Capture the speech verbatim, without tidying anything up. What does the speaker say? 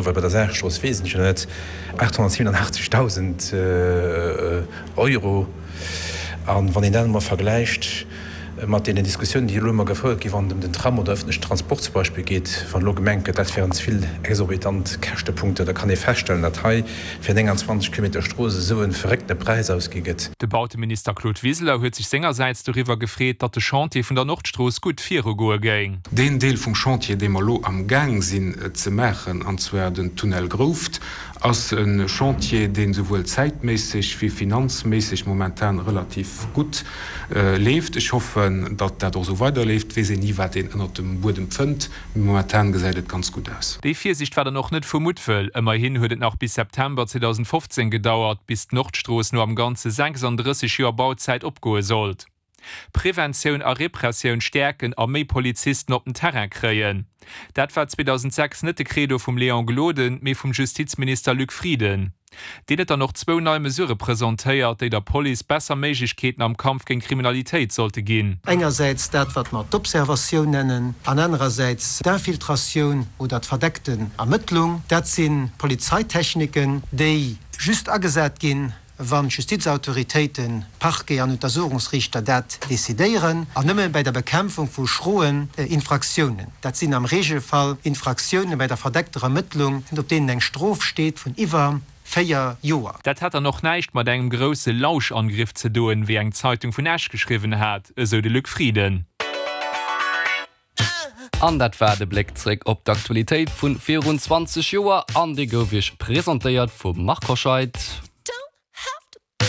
Well bei der Saarstrooss weess ech jo net, aathonnertsiwenunachtzegtausend Euro. A wann een dat emol vergläicht mat deenen Diskussiounen, déi elo ëmmer gefouert ginn, wann et ëm den Tram oder ëffentlechen Transport zum Beispill geet, wann elo gemengt gëtt, dat wären ze vill exorbitant Käschtepunkte, da kann ee feststellen, datt hei fir nénganzwanzeg Kilometer Strooss esou e verréckte Präis ausgi gëtt. De Bauteminister Claude Wiseler huet sech sengersäits doriwwer gefreet, datt de Chantier vun der Nordstrooss gutt virugoe géing. Deen Deel vum Chantier, dee mer elo amgaang sinn ze maachen, an zwar den Tunnel Grouft, ass e Chantier, dee souwuel zäitméisseg wéi finanzméisseg momentan relativ gutt leeft. Ech hoffen, datt dat och esou weiderleeft. Et weess een ni, wat een ënnert dem Buedem fënnt, mee momentan gesäit et ganz gutt aus. Déi Virsiicht war dann och net vu Muttwëll. Ëmmerhin huet et nach bis September zweedausendfofzéng gedauert, bis d'Nordstrooss no am Ganze sechsanddrësseg Joer Bauzäit opgoe sollt. Preventioun a Repressioun stäerken a méi Polizisten op den Terrain kréien, dat war zweedausendsechs net de Credo vum Léon Gloden, mee vum Justizminister Luc Frieden. Deen huet dann och zwou nei Mesurë presentéiert, déi der Police besser Méiglechkeeten am Kampf géint Kriminalitéit sollte ginn. Engersäits dat, wat mer d'Observatioun nennen, an anerersäits d'Infiltratioun oder d'verdeckten Ermëttlung. Dat si Polizeitechniken, déi just agesat ginn, wann d'Justizautoritéiten, Parquet an Untersuchungsriichter dat decidéieren, an nëmme bäi der Bekämpfung vu schroen Infraktiounen. Dat sinn am Regelfall Infraktioune bäi der verdeckter Ermëttlung, op deenen eng Strof steet vun iwwer véier Joer. Dat hätt dann och näischt mat engem grousse Lauschangriff ze doen, wéi eng Zeitung vun Esch geschriwwen hat, esou de Luc Frieden. An dat war de Bléck zréck op d'Aktualitéit vun virun zwanzeg Joer an dee gouf iech presentéiert vum Marc Hoscheid.